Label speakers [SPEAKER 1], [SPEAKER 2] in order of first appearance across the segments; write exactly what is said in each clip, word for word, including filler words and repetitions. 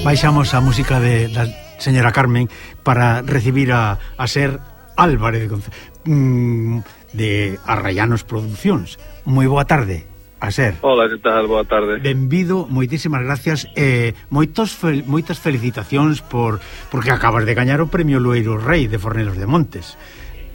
[SPEAKER 1] baixamos a música de, da señora Carmen para recibir a, a Ser Álvarez de, mm, de Arrayanos Producións. Moi boa tarde, a Ser.
[SPEAKER 2] Hola, que tal? Boa tarde.
[SPEAKER 1] Benvido, moitísimas gracias e eh, moitos fel, moitas felicitacións por porque acabas de gañar o premio Loeiro Rei de Fornelos de Montes.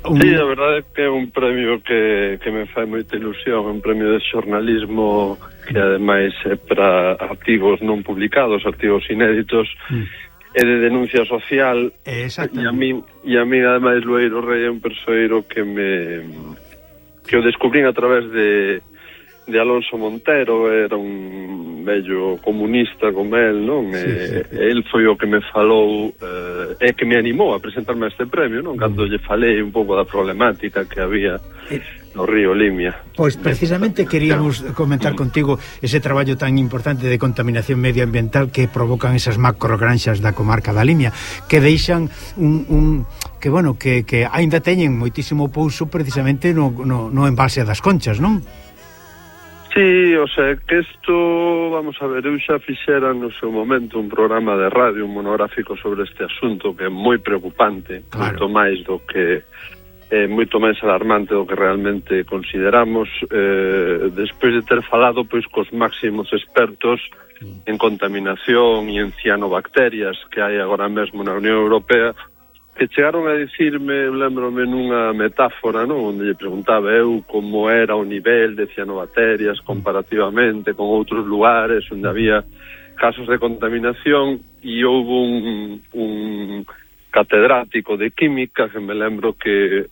[SPEAKER 2] Un... Sí, a verdade é que é un premio que, que me fai moita ilusión, un premio de xornalismo que ademais é para artigos non publicados, artigos inéditos, mm. e de denuncia social. E a mí, e a mí ademais Loeiro Rei é un persoeiro que me que o descubrín a través de de Alonso Montero, era un vello comunista como el, non? Sí, e, sí. El foi o que me falou eh, e que me animou a presentarme a este premio, non? Cando lle falei un pouco da problemática que había no río Limia.
[SPEAKER 1] Pois precisamente queríamos comentar contigo ese traballo tan importante de contaminación medioambiental que provocan esas macrogranxas da comarca da Limia, que deixan un, un que bueno, que, que aínda teñen moitísimo pouso precisamente no, no, no embalse das Conchas, non?
[SPEAKER 2] Sí, o sea, que isto, vamos a ver, eu xa fixera no seu momento un programa de radio, un monográfico sobre este asunto que é moi preocupante, claro. Moito máis do que é moito máis alarmante do que realmente consideramos, eh, despois de ter falado pois cos máximos expertos mm. en contaminación e en cianobacterias que hai agora mesmo na Unión Europea, que chegaron a dicirme, lembrome nunha metáfora, non? Onde lle preguntaba eu como era o nivel de cianobacterias comparativamente con outros lugares onde había casos de contaminación, e houve un, un catedrático de química que me lembro que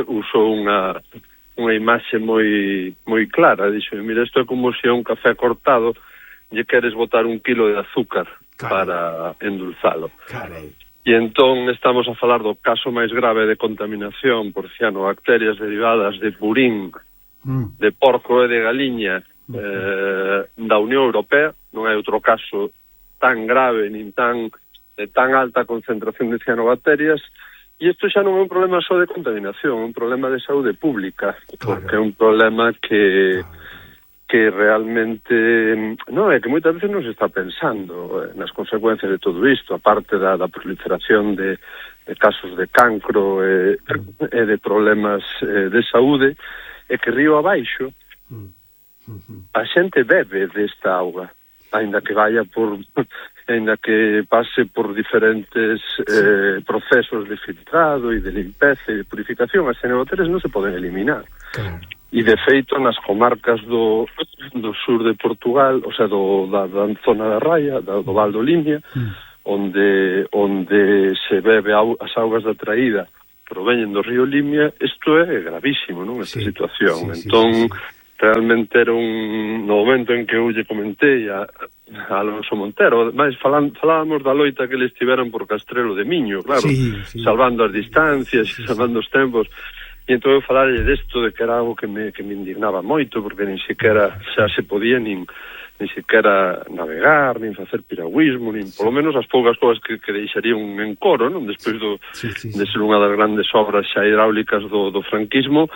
[SPEAKER 2] usou unha unha imaxe moi moi clara. Dixo, mira, isto é como se a un café cortado lle queres botar un kilo de azúcar Carai. Para endulzalo. Carai. E entón estamos a falar do caso máis grave de contaminación por cianobacterias derivadas de purín, mm. de porco e de galiña mm. eh, da Unión Europea. Non hai outro caso tan grave nin tan de tan alta concentración de cianobacterias, e isto xa non é un problema só de contaminación, é un problema de saúde pública, porque claro. É un problema que... Claro. que realmente non é que moitas veces non se está pensando nas consecuencias de todo isto, aparte da, da proliferación de, de casos de cancro e, e de problemas eh, de saúde, é que río abaixo a xente bebe desta auga, ainda que vaya por ainda que pase por diferentes eh, procesos de filtrado e de limpeza e de purificación. As cianobacterias non se poden eliminar. Claro. E de feito nas comarcas do, do sur de Portugal, o sea, do, da, da zona da Raia, da, do Val do Limia, mm. onde onde se bebe au, as augas da traída proveñen do río Limia, isto é gravísimo, non? Esta sí, situación. Sí, entón, sí, sí, sí. Realmente era un... No momento en que eu lle comentei a, a Alonso Montero, mas falan, falábamos da loita que eles tiveran por Castrelo de Miño, claro, sí, sí. Salvando as distancias, sí, sí, salvando os tempos. E entón eu falarlle desto de que era algo que me, que me indignaba moito, porque nin siquiera xa se podía nin, nin siquiera navegar, nin facer piragüismo, nin polo menos as poucas cousas que, que deixarían en coro, non? Despois do, sí, sí, sí. de ser unha das grandes obras xa hidráulicas do, do franquismo,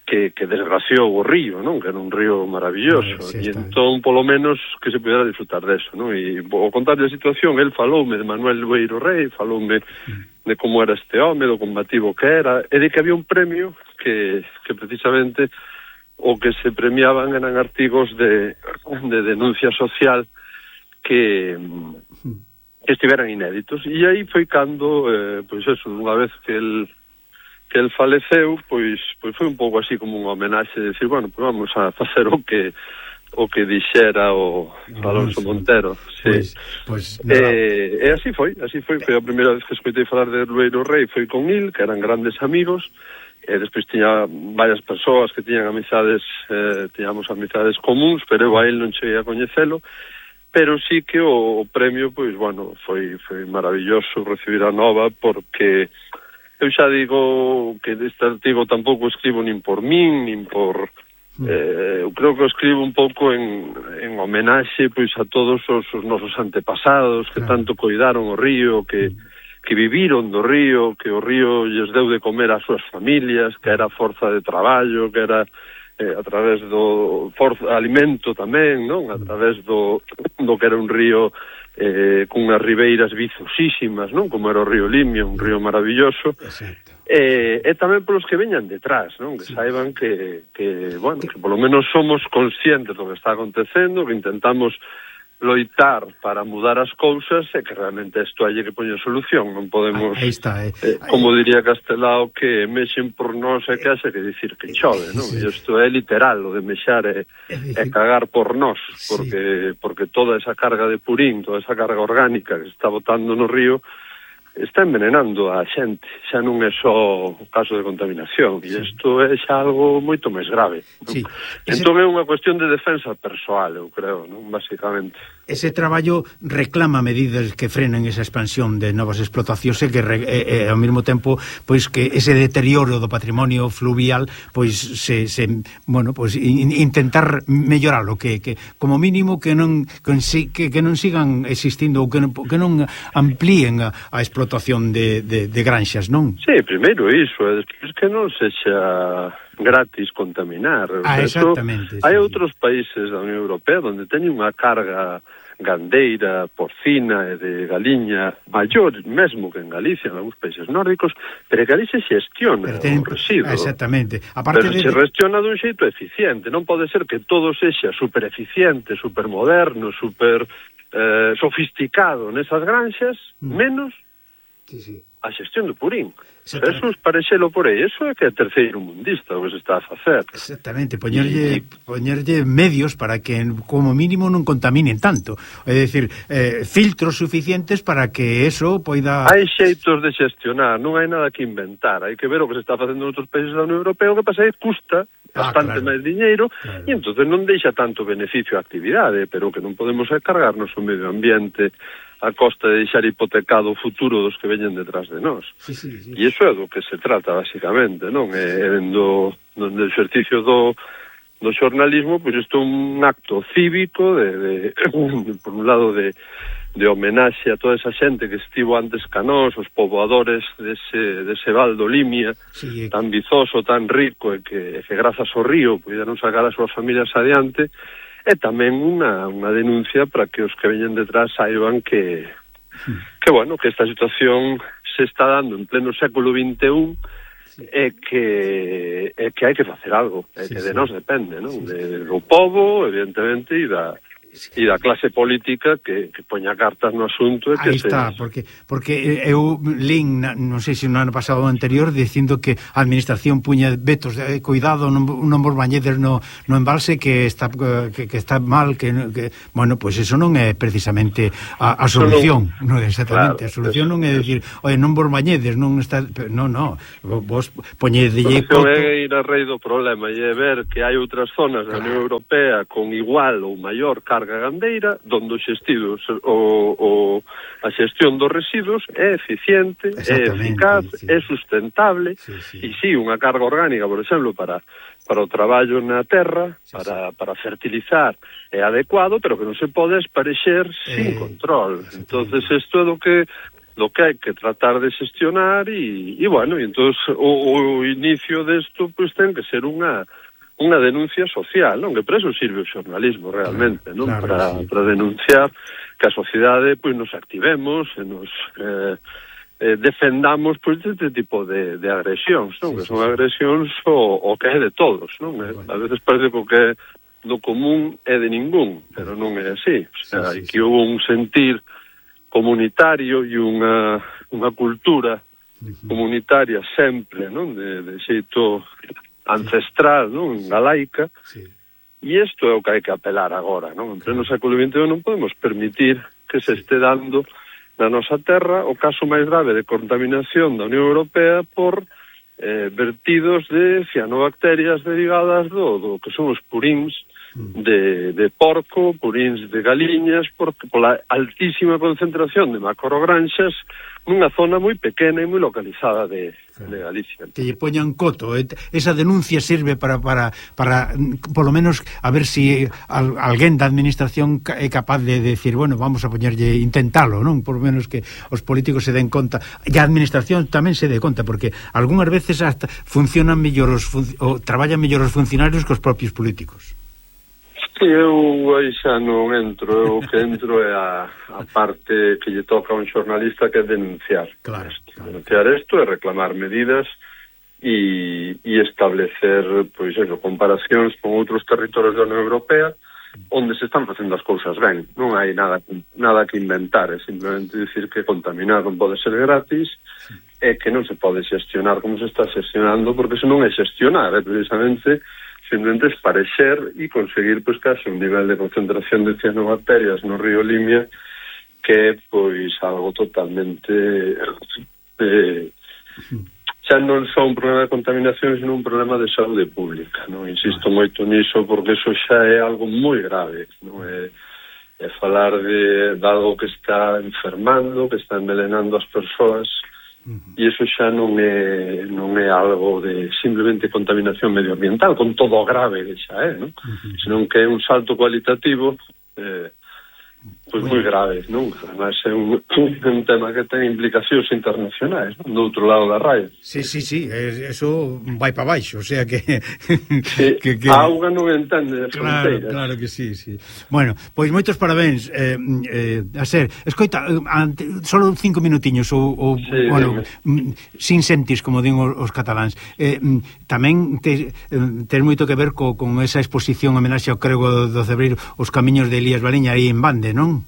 [SPEAKER 2] que, que desgraciou o río, non? Que era un río maravilloso, sí, e entón polo menos que se pudera disfrutar deso, non? E ao contarlle a situación, el faloume de Manuel Loeiro Rei, faloume mm. de como era este home, do combativo que era, e de que había un premio que, que precisamente o que se premiaban eran artigos de, de denuncia social que, que estiveran inéditos. E aí foi cando, eh, pois eso, unha vez que el que el faleceu, pois pois foi un pouco así como unha homenaxe de decir, bueno, pois vamos a facer o que o que dixera o Alonso Montero. Sí. Pois, pois, e, e así foi, así foi, foi a primeira vez que escoitei falar de Loeiro Rei, foi con il, que eran grandes amigos, e despois tiña varias persoas que tiñan amizades, eh, tiñamos amizades comuns, pero eu a el non cheguei a coñecelo, pero sí que o, o premio, pois, bueno, foi, foi maravilloso recibir a nova, porque eu xa digo que deste artigo tampouco escribo nin por min, nin por... Eh, eu creo que escribo un pouco en, en homenaxe pois a todos os, os nosos antepasados que claro. Tanto coidaron o río, que, que viviron do río, que o río lles deu de comer ás súas familias, que era forza de traballo, que era eh, a través do forza, alimento tamén, non? A través do, do que era un río eh, cunhas ribeiras vizosísimas, non? Como era o río Limia, un río maravilloso. Exacto. E, e tamén polos que veñan detrás, non? Que sí. Saiban que, que, bueno, que polo menos somos conscientes do que está acontecendo, que intentamos loitar para mudar as cousas e que realmente isto hai que poñer solución, non podemos,
[SPEAKER 1] aí está, eh.
[SPEAKER 2] eh, como diría Castelao, que mexen por nós e que haxe que dicir que chove, non? Sí. E isto é literal, o de mexar e, e cagar por nós, porque, sí. porque toda esa carga de purín, toda esa carga orgánica que se está botando no río está envenenando a xente, xa non é só o caso de contaminación, e isto é xa algo moito máis grave, non? Sí. Ese... Entón é unha cuestión de defensa persoal, eu creo, non? Basicamente.
[SPEAKER 1] Ese traballo reclama medidas que frenen esa expansión de novas explotacións e que re, e, e, ao mesmo tempo pois que ese deterioro do patrimonio fluvial pois se, se bueno, pois in, intentar melloralo, que, que como mínimo que non que, que non sigan existindo ou que non, que non amplíen a, a explotación de, de, de granxas, non?
[SPEAKER 2] Sí, primeiro iso, e despois que non sexa gratis contaminar.
[SPEAKER 1] Ah, exactamente.
[SPEAKER 2] Sí, hai outros países da Unión Europea onde teñen unha carga gandeira, porcina e de galiña maior mesmo que en Galicia, en algúns países nórdicos, pero que ali se xestiona ten... o residuo.
[SPEAKER 1] Exactamente. Aparte
[SPEAKER 2] pero
[SPEAKER 1] de...
[SPEAKER 2] se gestiona dun xeito eficiente, non pode ser que todo sexa super eficiente, super moderno, super eh, sofisticado nesas granxas, mm. menos sí, sí. a xestión do purín. Eso parexelo por aí, eso é que é terceiro mundista o que se está a facer.
[SPEAKER 1] Exactamente, poñerlle, y... poñerlle medios para que como mínimo non contaminen tanto. É dicir, eh, filtros suficientes para que eso poida...
[SPEAKER 2] Hai xeitos de xestionar, non hai nada que inventar, hai que ver o que se está facendo en outros países da Unión Europea, o que pasa é que custa bastante ah, claro. máis diñeiro, claro. E entonces non deixa tanto beneficio a actividade, pero que non podemos é cargarnos o medio ambiente a costa de deixar hipotecado o futuro dos que veñen detrás de nós.
[SPEAKER 1] Sí, sí, sí.
[SPEAKER 2] E iso é do que se trata, basicamente, non? É do, do exercicio do, do xornalismo, pois isto é un acto cívico, de, de, por un lado, de, de homenaxe a toda esa xente que estivo antes ca nós, os poboadores dese, dese val do Limia, sí, tan vizoso, tan rico, e que, que grazas ao río puideron sacar as súas familias adiante. E tamén unha, unha denuncia para que os que veñen detrás saiban que, que, bueno, que esta situación se está dando en pleno século vinte e un sí. e que e que hai que facer algo, e sí, que de sí. nós depende, non? Sí, sí. De, do pobo, evidentemente, e da... e da clase política que, que poña cartas no asunto e que
[SPEAKER 1] aí está, se... porque, porque eu lín, non sei se no ano pasado ou anterior, dicindo que a administración puña vetos de eh, cuidado, non, non vos bañedes no, no embalse que está que, que está mal, que, que bueno, pois pues eso non é precisamente a, a solución, non, non exactamente, claro, a solución eso, non é dicir, oye, non vos bañedes, non está, non, non, vos poñedelle
[SPEAKER 2] coto. É ir a rei do problema e é ver que hai outras zonas da Unión Europea con igual ou maior carga gandeira, donde os xestidos o, o, a xestión dos residuos é eficiente, é eficaz, sí. é sustentable, sí, sí. e sí, unha carga orgánica, por exemplo, para, para o traballo na terra, sí, para, sí. para fertilizar, é adecuado, pero que non se pode esparexer eh, sin control. Entonces, isto é do que do que hai que tratar de xestionar e, e bueno, e entonces o, o inicio desto, pois, ten que ser unha unha denuncia social, non? Que para eso sirve o xornalismo realmente, non? Claro, para, sí. para denunciar que a sociedade pois nos activemos e nos eh, eh, defendamos pois deste tipo de, de agresións, non? Sí, que son sí, agresións o, o que é de todos, non? Bueno. A veces parece que o que é do común é de ningún, pero non é así. O sea, sí, sí, que sí. Hubo un sentir comunitario e unha, unha cultura uh-huh. comunitaria sempre, non? De, de xeito ancestral, non? Galaica, sí. E isto é o que hai que apelar agora, non? En pleno século vinte e un non podemos permitir que se este dando na nosa terra o caso máis grave de contaminación da Unión Europea por eh, vertidos de cianobacterias derivadas do, do que son os puríns de, de porco, puríns de galiñas, porque pola altísima concentración de macrogranxas nunha zona moi pequena e moi localizada de, de Galicia.
[SPEAKER 1] Que lle poñan coto, esa denuncia sirve para, para, para polo menos a ver se si alguén da administración é capaz de decir, bueno, vamos a poñerlle, intentalo, non? Por menos que os políticos se den conta, e a administración tamén se dé conta, porque algunhas veces hasta funcionan mellor os, o traballan mellor os funcionarios que os propios políticos.
[SPEAKER 2] Sí, eu aí xa non entro, eu que entro é a, a parte que lle toca a un xornalista, que é denunciar.
[SPEAKER 1] Claro, claro.
[SPEAKER 2] Denunciar isto é reclamar medidas e, e establecer, pois eso, comparacións con outros territorios da Unión Europea onde se están facendo as cousas ben. Non hai nada nada que inventar, é simplemente dicir que contaminar non pode ser gratis e que non se pode xestionar como se está xestionando, porque se non é xestionar, é precisamente simplemente esparecer e conseguir, pois, case un nivel de concentración de cianobacterias no río Limia que é, pois, algo totalmente eh, xa non só un problema de contaminación, sino un problema de saúde pública, non? Insisto moito niso porque eso xa é algo moi grave, non? É, é falar de, de algo que está enfermando, que está envenenando as persoas. E iso xa non é non é algo de simplemente contaminación medioambiental, con todo o grave que xa é, non? Uh-huh. Senón que é un salto cualitativo eh, pois moi grave, non? Además é un, un tema que ten implicacións internacionais, non? Do outro lado da raya.
[SPEAKER 1] Sí, sí, sí, eso vai para baixo, o sea que...
[SPEAKER 2] Sí, que, que... a auga non entende de fronteiras.
[SPEAKER 1] Claro, claro que sí, sí. Bueno, pois moitos parabéns, eh, eh, a ser, escoita, ante, solo cinco minutiños, ou, ou sí, bueno, dime. Sin sentis, como din os, os cataláns. Eh, tamén te, ten moito que ver co, con esa exposición homenaxe ao Crego do Cebreiro, os camiños de Elías Baliña aí en Bande, non?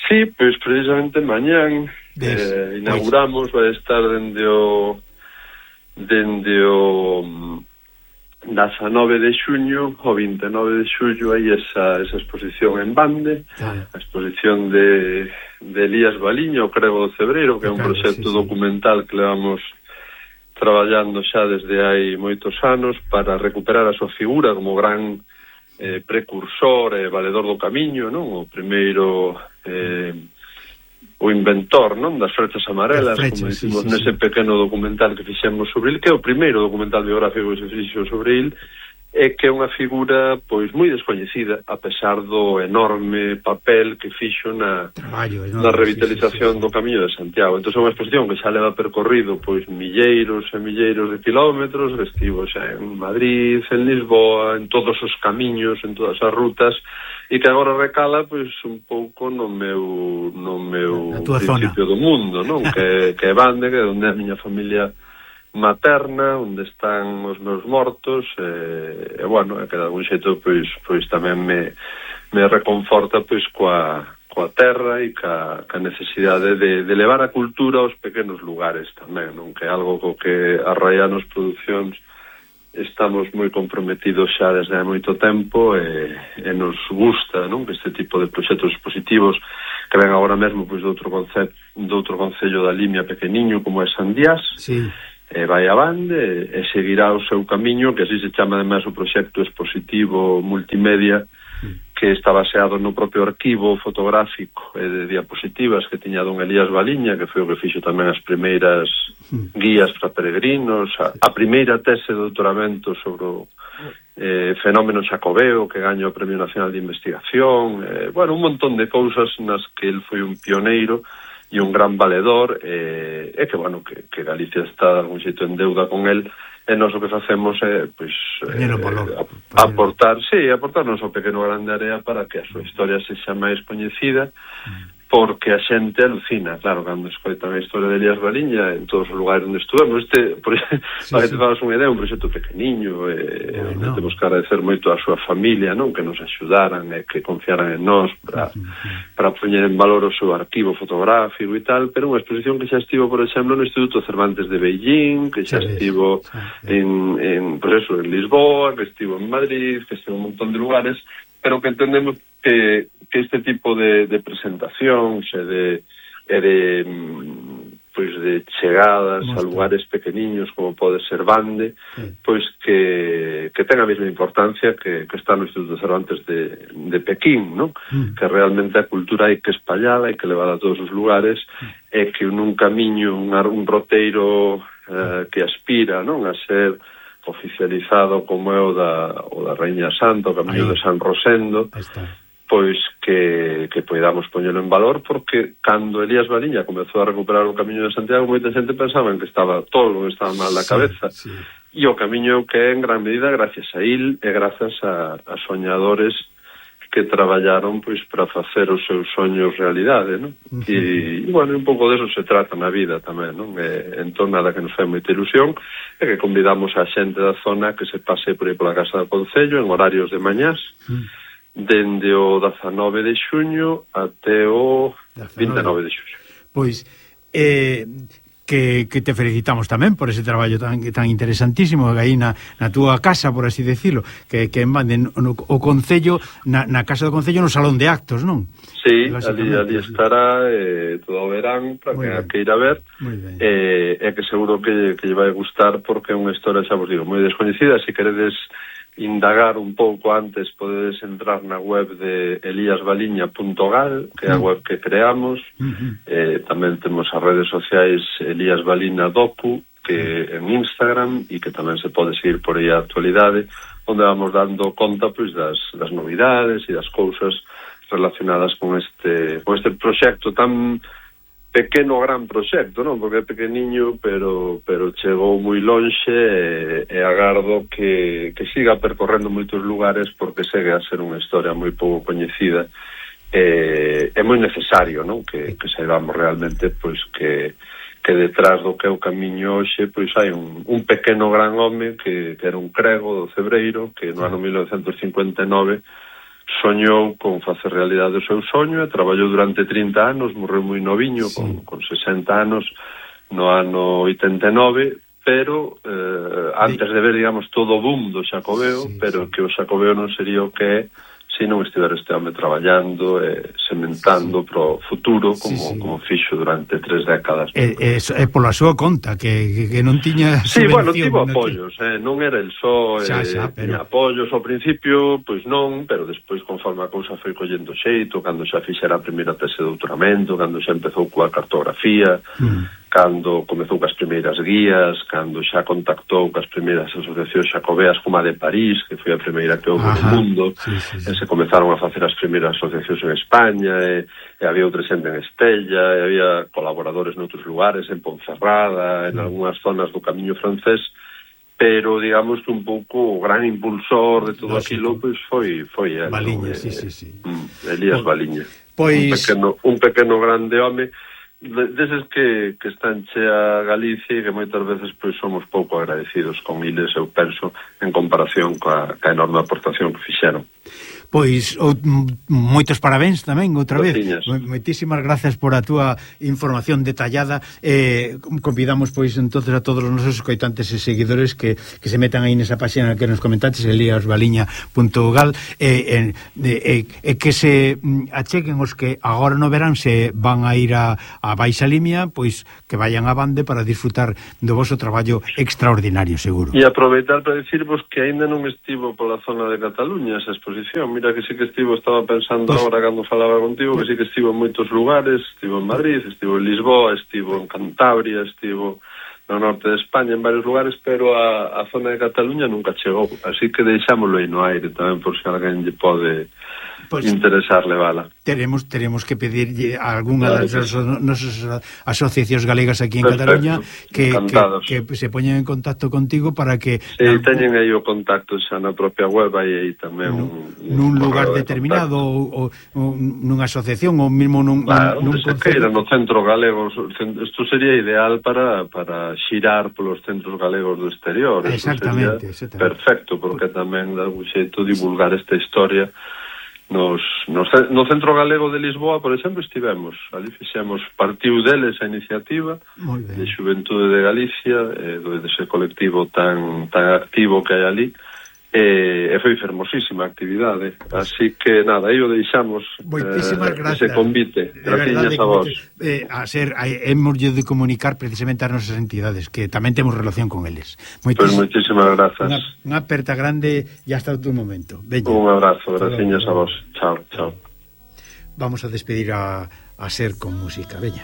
[SPEAKER 2] Sí, pois precisamente mañán eh, inauguramos, vai estar dende o dende o dezanove de xuño ao vinte e nove de xullo aí esa, esa exposición en Bande, ah. a exposición de, de Elías Baliña, o Crego do Cebreiro, que é un proxecto sí, sí. documental que levamos traballando xa desde hai moitos anos para recuperar a súa figura como gran eh, precursor e eh, valedor do camiño, non? O primeiro eh, o inventor, non? Das frechas amarelas, flechas, como dicimos sí, sí, nese sí. pequeno documental que fixemos sobre il, que é o primeiro documental biográfico que se fixo sobre il, e que é unha figura pois moi descoñecida, a pesar do enorme papel que fixo na, Traballo, na revitalización sí, sí, sí. do Camiño de Santiago. Entón é unha exposición que xa leva percorrido pois milleiros e milleiros de kilómetros, estivo xa en Madrid, en Lisboa, en todos os camiños, en todas as rutas, e que agora recala pois un pouco no meu no meu principio zona. do mundo, non? que, que é Bande, que é onde a miña familia materna, onde están os meus mortos, e, e bueno, é que de algún xeito pois pois tamén me me reconforta pois coa coa terra e ca, ca necesidade de, de levar a cultura aos pequenos lugares tamén, non? Que é algo co que a Raianos Producións estamos moi comprometidos xa desde hai moito tempo e, e nos gusta, non? Que este tipo de proxectos expositivos que ven agora mesmo pois de outro concepto, de outro concello da Limia pequeniño como é Sandías, sí. e vai a Bande e seguirá o seu camiño, que así se chama además o proxecto expositivo multimedia, que está baseado no propio arquivo fotográfico e de diapositivas que tiña don Elías Baliña, que foi o que fixo tamén as primeiras guías para peregrinos, a, a primeira tese de doutoramento sobre o eh, fenómeno xacobeo, que gaña o Premio Nacional de Investigación, eh, bueno, un montón de cousas nas que el foi un pioneiro e un gran valedor, e, e que, bueno, que, que Galicia está de algún xeito en deuda con el, e nós o que facemos é, pois, eh, aportar, sí, aportar noso pequeno grande área para que a súa historia se xa máis coñecida, porque a xente alucina, claro, cando escoitan a historia de Elías Baliña en todos os lugares onde estuvemos. Este, por, sí, para que te fagas unha idea, un proxecto pequeniño, eh, bueno, onde temos que agradecer moito a súa familia, non? Que nos axudaran e que confiaran en nós para, sí, sí. para poñer en valor o seu arquivo fotográfico e tal, pero unha exposición que xa estivo, por exemplo, no Instituto Cervantes de Beijing, que xa sí, estivo sí, sí. en, en, pues eso, en Lisboa, que estivo en Madrid, que estivo en un montón de lugares, pero que entendemos que, que este tipo de, de presentacións e de, e de pois de chegadas Mostra. a lugares pequeniños como pode ser Bande, sí. pois que, que ten a mesma importancia que, que está no Instituto Cervantes de, de Pequín, non? Mm. Que realmente a cultura hai que espallala, hai que levar a todos os lugares, mm. e que nun camiño, un, un roteiro eh, que aspira, non, a ser oficializado como é o da, o da Raíña Santa, o Camiño Ahí. de San Rosendo, pois que, que poidamos poñelo en valor, porque cando Elías Baliña comezou a recuperar o Camiño de Santiago, moita xente pensaba que estaba tolo, que estaba mal da cabeza, sí, sí. e o camiño que é en gran medida gracias a il e grazas a, a soñadores que traballaron pois para facer os seus soños realidade, non? Uh -huh. E, bueno, un pouco deso se trata na vida tamén, non? E, entón, nada que nos fai moita ilusión é que convidamos a xente da zona que se pase por aí pola Casa do Concello en horarios de mañás, uh -huh. dende o dezanove de xuño até o vinte e nove de xuño.
[SPEAKER 1] Pois, eh... Que, que te felicitamos tamén por ese traballo tan, tan interesantísimo aí na, na túa casa, por así decirlo, que, que manden no, o Concello na, na Casa do Concello no Salón de Actos, non?
[SPEAKER 2] Sí, ali, ali estará eh, todo o verán para que, que ir a ver e eh, que seguro que, que lle vai gustar porque é unha historia, xa vos digo, moi descoñecida. Se queredes indagar un pouco antes podedes entrar na web de elías baliña punto gal, que é a web que creamos. Uh-huh. eh, tamén temos as redes sociais Elías Balina Docu, que en Instagram, e que tamén se pode seguir por aí a actualidade, onde vamos dando conta pois das, das novidades e das cousas relacionadas con este con este proxecto tan pequeno gran proxecto, non? Porque é pequeniño, pero pero chegou moi lonxe e, e agardo que, que siga percorrendo moitos lugares porque segue a ser unha historia moi pouco coñecida e é moi necesario, non? Que, que saibamos realmente pois que que detrás do que é o camiño hoxe pois hai un, un pequeno gran home que, que era un crego do Cebreiro que no ano mil novecentos cincuenta e nove soñou con facer realidade o seu soño e traballou durante trinta anos, morreu moi noviño, sí. con, con sesenta anos no ano oitenta e nove, pero eh, antes de ver, digamos, todo o boom do Xacobeo, sí, pero sí. que o Xacobeo non sería o que é se non estiver este home traballando e eh, sementando sí. pro futuro como, sí, sí. como fixo durante tres décadas.
[SPEAKER 1] É, é, é pola súa conta que, que, que non tiña
[SPEAKER 2] sí, bueno, tivo apoios, eh, non era el só eh, xa, xa, pero... tiña apoios ao principio, pois non, pero despois conforme a cousa foi collendo xeito, cando xa fixera a primeira tese de doutoramento, cando xa empezou coa cartografía, mm. cando comezou cas primeiras guías, cando xa contactou cas primeiras asociacións xacobeas como a de París, que foi a primeira que houve no mundo, sí, sí, sí. e se comezaron a facer as primeiras asociacións en España, e, e había outra xente en Estella, e había colaboradores noutros lugares, en Ponferrada, en algunhas zonas do camiño francés, pero digamos que un pouco o gran impulsor de todo aquilo pois foi foi él,
[SPEAKER 1] Baliña,
[SPEAKER 2] ¿no?
[SPEAKER 1] sí, sí, sí.
[SPEAKER 2] Elías
[SPEAKER 1] pues,
[SPEAKER 2] Baliña.
[SPEAKER 1] Pois...
[SPEAKER 2] Un pequeno, un pequeno grande home deses que, que están chea Galicia e que moitas veces pois somos pouco agradecidos con iles, eu penso, en comparación coa, coa enorme aportación que fixeron.
[SPEAKER 1] Pois o, moitos parabéns tamén outra vez.Ociñas. Moitísimas gracias por a túa información detallada. Eh, convidamos pois entonces a todos os nosos escoitantes e seguidores que, que se metan aí nesa página que nos comentaste, elías baliña punto gal, e eh, eh, eh, que se acheguen os que agora no verán se van a ir a, a Baixa Limia, pois que vayan a bande para disfrutar do voso traballo extraordinario, seguro.
[SPEAKER 2] E aproveitar para decirvos que aínda non estivo pola zona de Cataluña esa exposición. Mira que sí que estivo, estaba pensando pues, agora cando falaba contigo, que sí que estivo en moitos lugares, estivo en Madrid, estivo en Lisboa, estivo en Cantabria, estivo no norte de España, en varios lugares, pero a, a zona de Cataluña nunca chegou, así que deixámoslo aí no aire tamén por se alguén lle pode pues, interesar levala. Teremos,
[SPEAKER 1] teremos que pedirlle a algunha claro, das nosas asociacións galegas aquí en perfecto, Cataluña que, que, que se poñen en contacto contigo para que...
[SPEAKER 2] Sí, na, teñen aí o contacto xa na propia web, aí, aí tamén no, un,
[SPEAKER 1] nun un lugar determinado ou, ou nunha asociación ou mesmo nun,
[SPEAKER 2] claro,
[SPEAKER 1] nun, nun
[SPEAKER 2] se queira, no centro galego. Isto sería ideal para, para xirar polos centros galegos do exterior.
[SPEAKER 1] Exactamente, exactamente.
[SPEAKER 2] Perfecto, porque tamén dá un xeito divulgar esta historia. Nos, nos, no Centro Galego de Lisboa, por exemplo, estivemos ali, fixemos, partiu deles a iniciativa de Xuventude de Galicia, eh, dese colectivo tan, tan activo que hai ali, e, e foi fermosísima a actividade, así que nada, aí o deixamos eh, ese convite. Gracias a vos.
[SPEAKER 1] Eh, a ser, hemos de comunicar precisamente as nosas entidades, que tamén temos relación con eles.
[SPEAKER 2] Pois pues moitísimas grazas.
[SPEAKER 1] Unha, unha aperta grande e hasta outro momento. Veña.
[SPEAKER 2] Un abrazo, gracias a vos. Chao, chao.
[SPEAKER 1] Vamos a despedir a, a Ser con música, veña.